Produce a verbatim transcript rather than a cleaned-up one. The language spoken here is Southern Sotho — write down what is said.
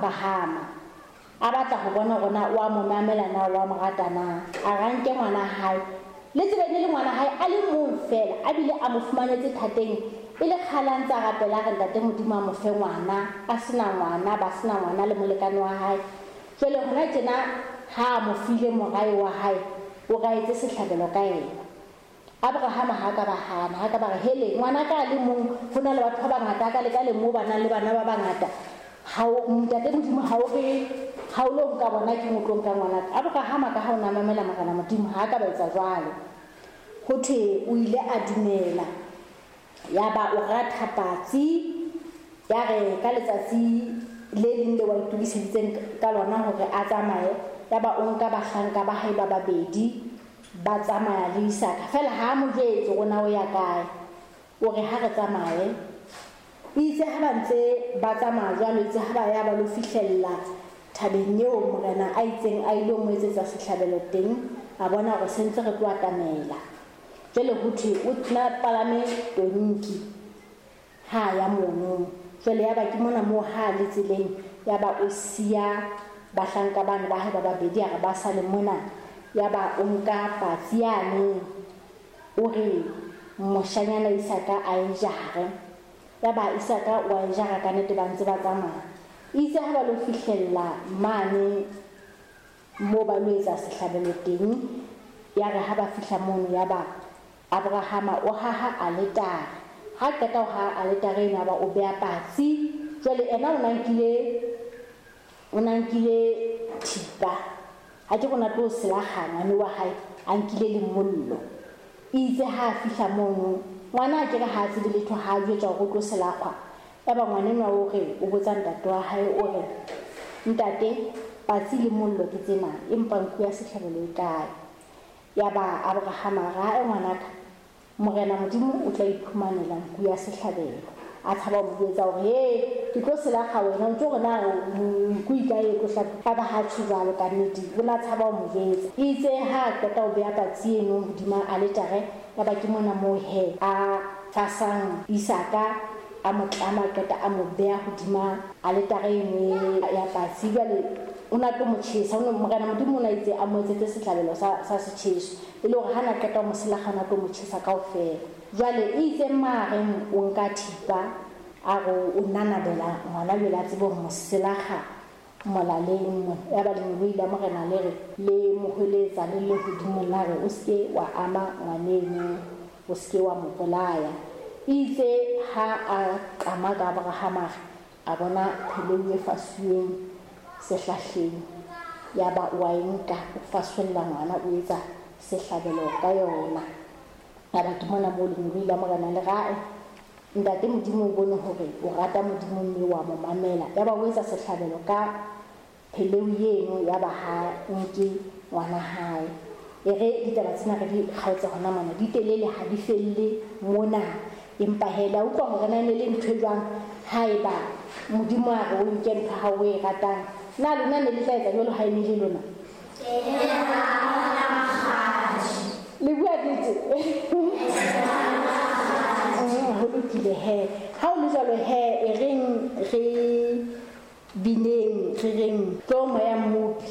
Abrahama, a batla ho bona hore na o a mo mamela na, o a mo rata na. A re a nke ngwana hae, le tsebe ne le ngwana hae a le mong fela, a bile a mo fumanetse thateng e le kgale a ntse a rapela a re ntate Modimo a mo fe ngwana, a sena ngwana, ba sena ngwana le molekane wa hae. Jwale hona tjena ha a mo file morae wa hae, o ra etse sehlabelo ka yena. Abrahama ha ka ba hana, ha ka ba re hele ngwana ka a le mong, ho na le batho ba bangata ka le ka le moo ba nang le bana ba bangata. Ha o ntate Modimo ha o re ha o lo nka bona ke mo tlo nka ngwana ka. Abrahama ka ha o na mamela Morena Modimo ha ka ba etsa jwalo. Ho thwe o ile a dumela, ya ba o ratha patsi, ya re ka letsatsi le leng le wa itokiseditseng ka lona hore a tsamaye, ya ba o nka bahlanka ba hae ba babedi ba tsamaya le Isaka. Fela ha mo jwetse hore na o ya kae, o re ha re tsamaye. Itse ha ba ntse ba tsamaya jwalo, itse ha ba ya ba lo fihlella thabeng eo Morena a itseng a ilo mo etsetsa sehlabelo teng, a bona hore se ntse re tlo atamela. Jwale ho thwe o tla palame tonki ha ya mono. Jwale ya ba ke mona moo ha le tseleng, ya ba o siya bahlanka bana ba hae ba babedi, a re ba sale mona. Ya ba o nka patsi yane, o re moshanyana Isaka a e jare. Ya ba Isaka wa e jara ka nnete ba ntse ba tsamaya. Itse ha ba lo fihlella mane moo ba lo etsa sehlabelo teng, ya re ha ba fihla mono, ya ba Abrahama o haha aletare. Ha qeta ho haha aletare eno, ya ba o beha patsi. Jwale ena o na nkile, o na nkile thipa. Ha ke rona tlo selaga ngwane wa hae, a nkile le mollo. Itse ha a fihla mono, ngwana a kere ha a tsebe letho, ha a jwetswa hore o tlo selakgwa. Ya ba ngwana enwa o re, o botsa ntate wa hae, o re, ntate, patsi le mollo ke tsena, empa nku ya sehlabelo e kae? Ya ba Abrahama a re, ae ngwanaka, Morena Modimo o tla iphumanela nku ya sehlabelo. A tshaba ho mo jwetsa hore, he, ke tlo selakga wena, o ntso re na nku e kae e tlo hlaba? Ya ba ha tjho jwalo ka nnete, o na tshaba ho mo jwetsa. Itse ha a qeta ho beha patsi eno hodima aletare, ya ba ke mona moo he a fasang Isaka, a mo tlama, a qeta a mo beha hodima aletare eno ya patsi. Jwale o na tlo mo tjhesa, o ne Morena Modimo o na itse a mo etsetse sehlabelo sa, sa setjheso, e le hore ha na qeta ho mo selakga, o na tlo mo tjhesa kaofela. Jwale itse mmareng o nka thipa, a re o nanabela ngwana jwale a tsebe ho mo selakga molaleng mona. Ya ba lengeloi la Morena le re le mo hweletsa le le hodimo la re, o seke wa ama ngwaneno, o seke wa mo bolaya. Itse ha a qama ka Abrahama, a bona pheleu e fasuweng sehlahleng, ya ba o a e nka, o fasolla ngwana, o etsa sehlabelo ka yona. Ya ba ke mona moo lengeloi la Morena le re, ae, ntate Modimo o bone hore o rata Modimo mme wa mo mamela. Ya ba o etsa sehlabelo ka pheleu eno, ya ba ha nke ngwana hae. E re ditaba tsena re di kgaotse hona mona, di telele ha di felle mona. Empa he, la utlwa hore na e ne le ntho e jwang haeba Modimo a re o nke ntho ha o e ratang. Na lona ne le tla etsa jwalo ha e ne le lona? Le bua nnete? Ho lokile he. Ha o le jwalo he, e reng re bineng, re reng tlo moya Mmopi.